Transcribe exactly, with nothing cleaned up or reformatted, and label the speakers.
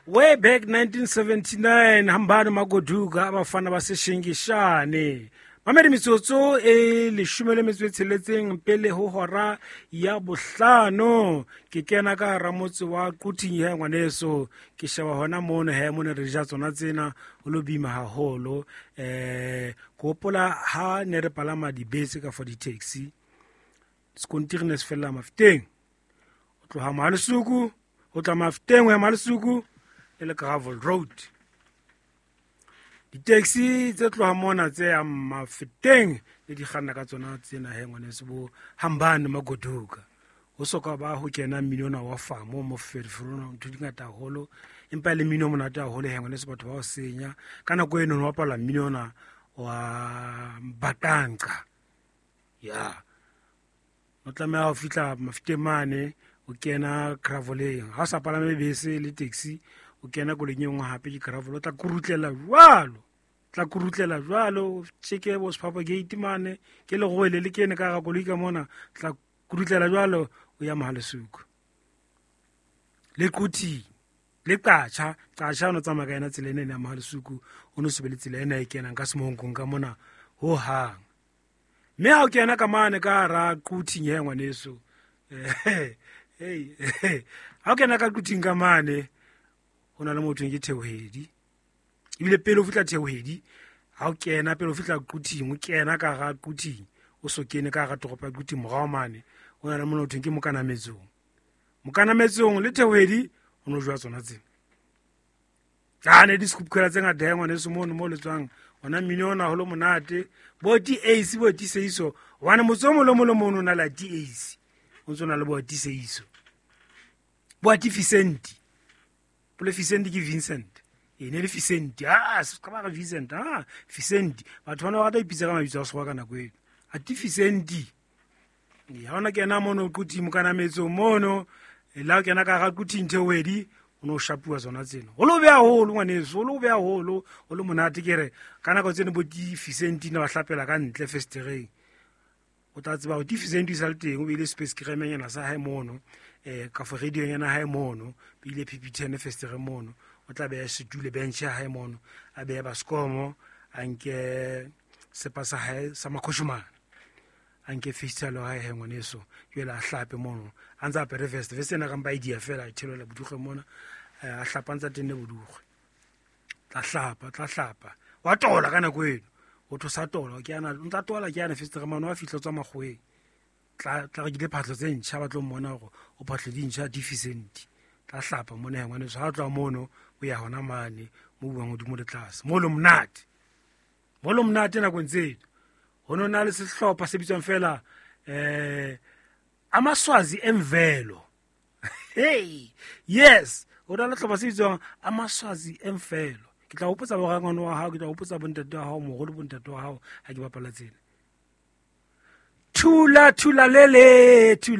Speaker 1: Way back nineteen seventy-nine, Hambani Magoduka, abafana baseshingishane. Mamedi metsotso e leshome le metso e tsheletseng pele ho hora ya bohlano. Ke kena ka hara motse wa Quthing he ngwaneso. Ke sheba hona mono he mone re ja tsona tsena ho lo bima haholo. Eh, ke hopola ha ne re palama dibese ka for di-taxi. Sekontiri ne se fella Mafeteng. O tloha Mahalesuku, o tla Mafeteng ho ya Mahalesuku le le Gravel Road. Di-taxi tse tloha mona tse yang Mafeteng le di kganna ka tsona tsena he ngwaneso bo Hambani Magoduka. Ho soka ba ho kena mmino ona wa famo mo Ferifrona ntho di ngata haholo, empa le mmino o monate haholo he ngwaneso batho ba o senya. Ka nako eno no bapala mmino ona wa Batanka. Ya. O tlameha ho fihla Mafeteng mane o kena graveleng. Ha o sa palame bese le taxi, o kena koloing e nngwe hape ke gravel, o tla kurutlela jwalo. Tla kurutlela jwalo, tjeke bo Sephapha Gate mane, ke leroele le kene ka hara koloi ka mona, tla kurutlela jwalo o ya Mahalesuku. Le Quthing, le Qacha, Qacha o no tsamaya ka yona tsela ena ya Mahalesuku, o no se be le tsela ena e kenang ka Semonkong ka mona ho hang. Mme ha o kena ka mane ka hara Quthing he ngwaneso. Hey, ha o kena ka Quthing ka mane, ho na le motho ke Theohedi. Ebile pele o fihla Theohedi, ha o kena pele o fihla Quthing, o kena ka hara Quthing, o so kene ka hara toropo ya Quthing morao mane, ho na le motho ke Mokanametsong. Mokanametsong le Theohedi ho no jwa tsona tsena. Tsane di scoop-khela tse ngata he ngwaneso mono mo le tswang, hona mmino ona ho lo monate, bo T Ace bo T Seiso, hobane motse o mong le mong le mono o na le T Ace, o ntso na le bo T Seiso. Bo T Vicente. Pole Vicente ke Vincent. E ne le Vicente. Ah, se ka ba re Vincent. Ah, Vicente. Batho bana ba rata ho ipitsa ka mabitso a sekgowa ka nako eno. A T Vicente. E ha ona kena mono Quthing Mokanametsong mono, e la o kena ka hara Quthing Theohedi, o no shapuwa tsona tsena. Ho lo beha haholo ngwaneso, ho lo beha haholo, ho lo monate ke re ka nako tseno bo T Vicente ne ba hlapela ka ntle festereng. O tla tseba hore T Vicente e sa le teng, o beile space cream-nyana sa hae mono, eh, ka fo radio-nyana hae mono, beile P P ten festereng mono, o tla beha setulo bench ya hae mono, a behe baskomo, a nke sepa sa hae sa makhoshomane, a nke fistula ya hae he ngwaneso, jwale a hlape mono, a ntse a apere vest, vest ena ka mpa e dia fela, a theolela bodukgwe mona, eh, a hlapa ntse a tenne bodukgwe. Tla hlapa, tla hlapa. Wa tola ka nako eno. O tho sa tola, ke ana, o ntsa tola ke ana festereng mane, wa fihla o tswa makgoweng. Tla, tla rekile phahlo tse ntjha, ba tlo mmona hore o phahlo di ntjha, di Vicente. Tla hlapa mona he ngwaneso, ha o tloha mono, o ya hona mane, mo buang hodimo le tlase. Mo lo monate. Mo lo monate nakong tseno. Ho no na le sehlopha se bitswang fela, eh, Amaswazi Emvelo. Hey, yes, ho na le sehlopha se bitswang Amaswazi Emvelo. Ke tla hopotsa borangwane wa hao, ke tla hopotsa bontate wa hao, moholo bontate wa hao ha ke bapala tsena. Thula, thula lele, thula.